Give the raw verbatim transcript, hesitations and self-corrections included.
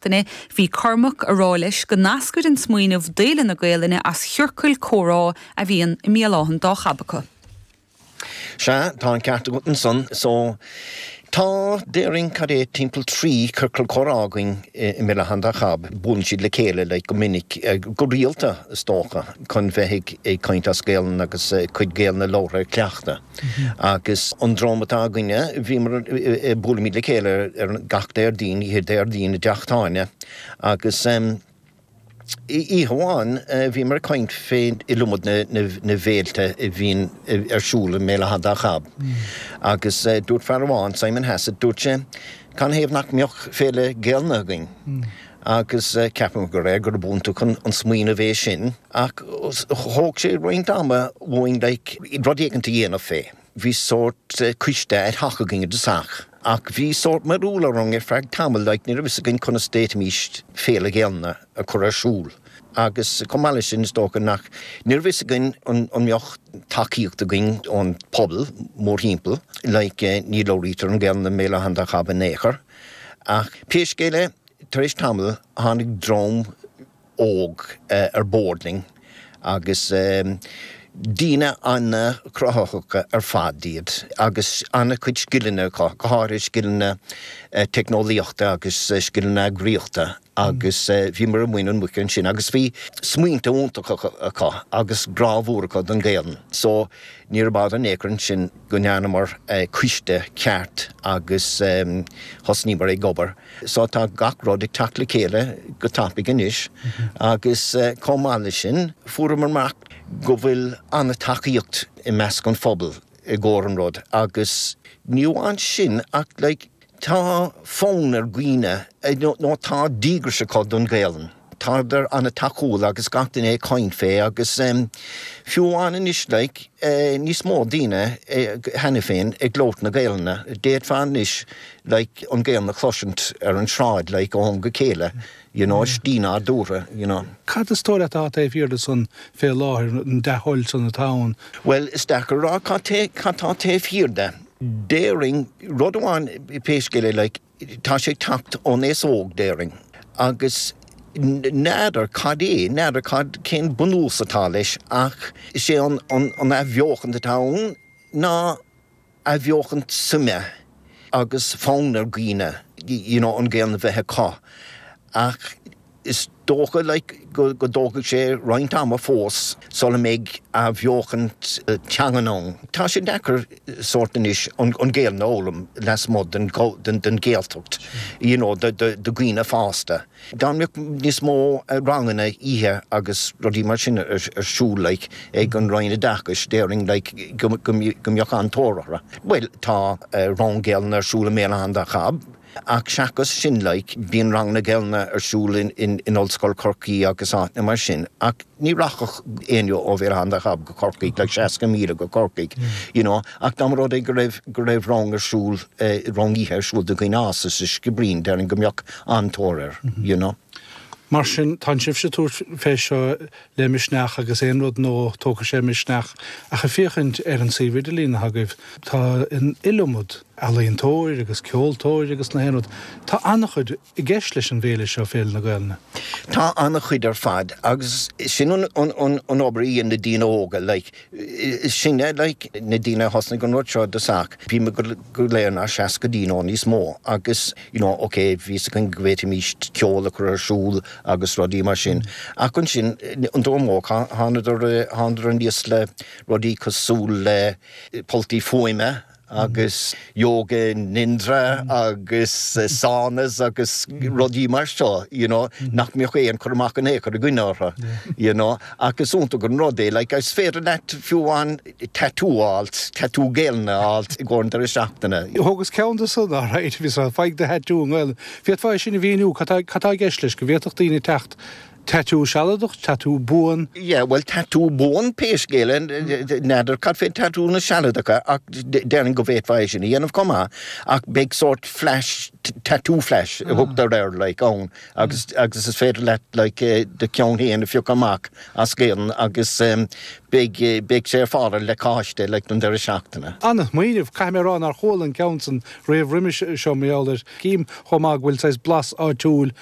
seachtaine, bhí Cormac ag rá leis go n-eascair an smaoineamh d'Fhéile na Gaelainne as chiorcal comhrá a bhíonn i mBéal Átha an Dá Chab acu. Sea, tá an ceart agat ansan. So, tá, déarfainn, cad é, timpeall trí ciorcal comhrá againn i mBéal Átha an Dá Chab. Buaileann siad le chéile like go minic, go rialta is dócha, chun bheith ag caint as Gaelainn agus cuid Gaelainne labhartha a chleachtadh. Agus an dream atá againne, bhíomar, buailimid le chéile ar gach Déardaoin, oíche Déardaoin i dteach tábhairne agus oíche amháin bhíomar ag caint fén iliomad na bhféilte a bhíonn ar siúl i mBéal Átha an Dá Chab agus dúirt fear amháin, Simon Hassett, dúirt sé, Canathaobh nach mbeadh féile Gaelainne againn? Agus ceapaim go réir gurb iontach an smaoineamh é sin ach thóg sé roinnt ama uainn like rud éicint a dhéanamh fé. Bhí sórt coiste ad hoc againn i dtosach ach bhí sórt mearbhall orainn ar feadh tamaill like ní raibh fhios againn conas d'fhéadfaimis féile Ghaelainne a chur ar siúl agus chomh maith leis sin is dócha nach ní raibh fhios againn an an mbeadh tacaíocht againn ón pobal mórthimpeall like ní labhraítear an Ghaelainn i mBéal Átha an Dá Chab in aon chor ach pé scéal é tar éis tamaill tháinig dream óg ar bord linn agus daoine an-chruthaitheacha ar fad iad agus an-chuid scileanna acu, go háirithe scileanna teicneolaíochta agus scileanna eagraíochta agus bhíomar ag muin an mhuice ansin agus bhí smaointe iontacha acu agus grá mhór acu don Ghaelainn. So níorbh fhada in aon chor ansin go ndearnamar coiste ceart agus thosnaíomar ag obair. So tá gach rud ag teacht le chéile go tapaidh anois agus chomh maith leis sin fuaireamar amach go bhfuil an-tacaíocht i measc an phobail i gcomhair an rud agus ní amháin sin ach like tá fonn ar dhaoine nó tá díograis acu don Ghaelainn. Tádar an-tacúil agus gach duine ag caint fé agus fiú amháin anois like níos mó daoine cheana féin ag labhairt na Gaelainne. D'fhéadfá anois like an Ghaelainn a chloisint ar an sráid like ó am go chéile you know slí nádúrtha you know. Cad is dóigh leat atá taobh thiar de san fé láthair, an dea-thoil san atá ann? Bhuel is deacair a rá cad cad tá taobh thiar de. Déarfainn rud amháin pé scéal é like tá sé ag teacht ón aos óg déarfainn agus n'fheadar cad é, n'fheadar cad cén bunús atá leis ach is é an an an athbheochan atá ann ná athbheochan suime agus fonn ar dhaoine you know an Ghaelainn a bheith acu ach is dócha like go go dtógfaidh sé roinnt ama fós sula mbeidh athbheochan teangan ann. Tá sé deacair sórt anois an an Ghaelainn a fhoghlaim lasmuigh den den den Ghaeltacht you know do do do dhaoine fásta. Dá mbeadh níos mó ranganna oíche agus rudaí mar sin ar ar siúl like ag an Roinn Oideachais déarfainn like go go go mbeadh an-tóir orthu. Bhuel tá rang Gaelainne ar siúl i mBéal Átha an Dá Chab. Ach seachas sin like bíonn ranganna Gaelainne ar siúl in in in Ollscoil Chorcaí agus áiteanna mar sin ach ní rachadh éinne ó Bhéal Átha an Dá Chab go Corcaigh like seasca míle go Corcaigh you know ach dá mba rud é go raibh go raibh rang ar siúl rang oíche ar siúl do dhaoine fásta sa Sciobairín déarfainn go mbeadh an-tóir air you know. Mar sin, tá sibhse ag tabhairt fé seo le misneach agus aon rud nua, tógfaidh sé misneach. Ach ag féachaint ar an suíomh idirlín atá agaibh, tá an iliomad ealaíontóir agus ceoltóir agus na haon rud. Tá an-chuid i gceist leis an bhféile seo, Féile na Gaelainne. Tá an-chuid ar fad agus sin an an an an obair a dhéanann na daoine óga like sinne like na daoine a thosnaigh an rud seo i dtosach. Bhí muid go go léir inár seascaidí nó níos mó agus you know ok bhí fhios againn go bhféadfaimis ceol a chur ar siúl agus rudaí mar sin. Ach ansin an dream óg thánadar thánadar aníos le rudaí cosúil le polltaí fuaime agus yoga nidra agus saunas agus rudaí mar seo you know nach mbeadh aon chur amach in aon chor againn orthu you know ach is iontach an rud é like is féidir leat fiú amháin tattoo a fháilt, tattoo Gaelainne a fháilt i gcomhair an deireadh seachtaine. Thógas ceann de san, alright, bhí sa faigh do thattoo i nGaelainn. Féadfá é sin a mhíniú, cad tá cad tá i gceist leis, go bhféadfadh daoine teacht Tatú sealadach, tatú buan. Yeah, well tatú buan pé scéal é, n'fheadar cad fé tatúnna sealadacha ach déarfainn go bhféadfá é sin a dhéanamh chomh maith ach beidh sórt flash, tattoo flash a thugtar air like ann agus agus is féidir leat like do cheann féin a phiocadh amach as Gaelainn agus beidh beidh sé ar fáil le lacáiste like don deireadh seachtaine. Ana-smaoineamh, caithfidh mé a rá nár chuala an ceann san riamh roimis seo mar gheall air. Cím chomh maith go bhfuil saghas blas áitiúil